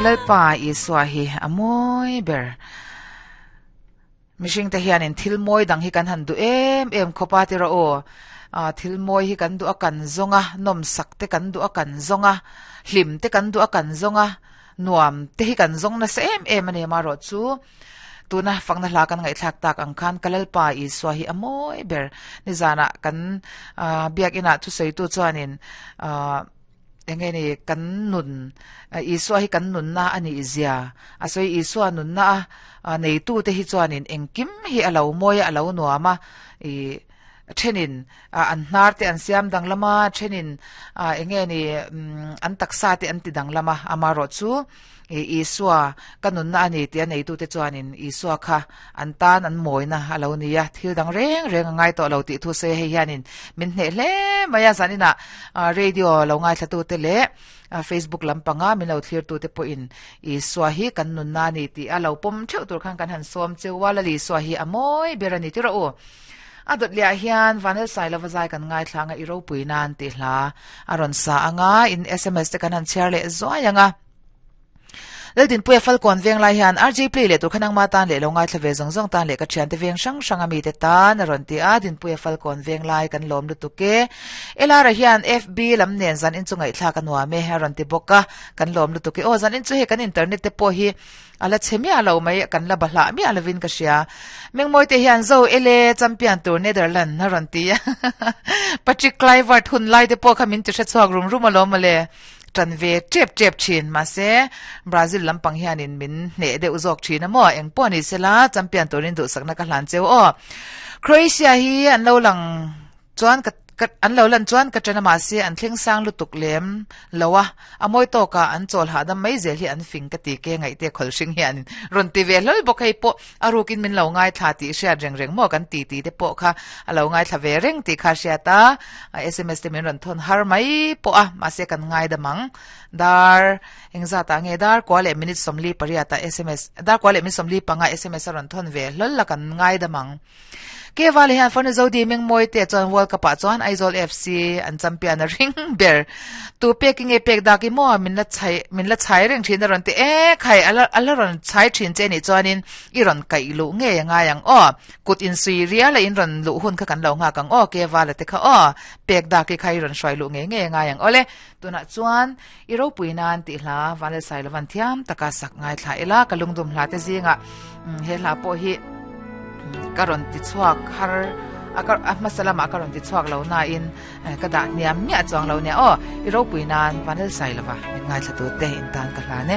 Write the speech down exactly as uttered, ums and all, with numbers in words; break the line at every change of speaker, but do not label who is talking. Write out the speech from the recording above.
Kalalpa Isua hi amoi ber mihring te hianin thil mawi dang hi kan han du em em khopa ti ro o a thil mawi hi kan du a kan zonga nom sak te kan du a kan zonga hlim te kan du a kan zonga nuam te hi kan zong na se em em ani ma ro chu tuna fangna hla kan ngai thlak tak ang khan kalalpa Isua hi amoi ber ni zana kan biak ina chu sei tu chuanin a enge ni kan nun Isua hi kan nun na ani izia a soi Isua nun na a nei tu te hi chuanin engkim hi alo moya alo nuama i thenin an hnar te an siam dang lama thenin enge ni an taksa te an ti dang lama amaro chu Isua kanun na ani ti nei tu te chuanin Isua kha an tan an moina alo nia thil dang reng reng ngai to lo ti thu se he hianin min hne hle maya zanina radio lo ngai thla tu te le Facebook lampanga min lo thlir tu te po in Isua hi kanun na ni ti alo pom theu tur khan kan han som chewa la li Isua hi amoi berani ti ro adot lia hian vanel sai lova zai kan ngai thlanga i ropui nan ti hla aron sa anga in S M S te kan han share le zoyanga leldin puya falcon veng lai hian R J play le tur khanang ma tan le lo ngai thlave zong zong tan le ka thian te veng sang sang ami te tan aron ti a din puya falcon veng lai kan lom lu tuke elara hian F B lam nen zan in chungai thla kan wa me aron ti boka kan lom lu tuke o zan in chu he kan internet te po hi ala chemia lo mai kan la bahla mi alavin ka sia mengmoi te hian zo ele champion tur Netherlands aron ti Patrick Kluivert hun lai te po khamin ti hre chuak rum rum alom le tran ve trep trep chin ma se Brazil lampang hianin min hne deuh zawk thin amo eng pawh ni sela champion turin duh sakna ka hlan cheu o Croatia hi an lo lang chuan ka an lo lan chuan ka tana ma se an thleng sang lutuk lem lowa amoi to ka an chol ha dam mai zel hi an fing ka ti ke ngai te khol hring hian ron ti ve hlol bok hei po arukin min lo ngai thla ti hriat reng reng mo kan ti ti te po kha alo ngai thla ve reng ti kha hria ta S M S te min ron thon har mai po a ma se kan ngai damang dar engza ta nge dar kwale minute somli paria ta S M S dar kwale min somli panga S M S ron thon ve hlol la kan ngai damang ke wale han phone zo di meng moi te chuan World Cup a chuan Aizawl F C an champion a ring ber tu peking e pek da ki mo min la chai min la chai reng thin ron te e khai ala ala ron chai thin che ni chuanin i ron kai lu nge nga yang o kut in sui ria la in ron lu hun kha kan lo nga kang o ke wale te kha o pek da ki khai ron shwai lu nge nge nga yang ole tuna chuan i ro puinan ti hla wale sai lawan thiam taka sak ngai thla ila kalungdum hla te zinga he hla po hi karon ti chuak har akar masala ma karon ti chuak lo na in kada niam mi chuang lo ne o i ro puinan vanel sai lova min ngai thla tu te in tan ka hla ne.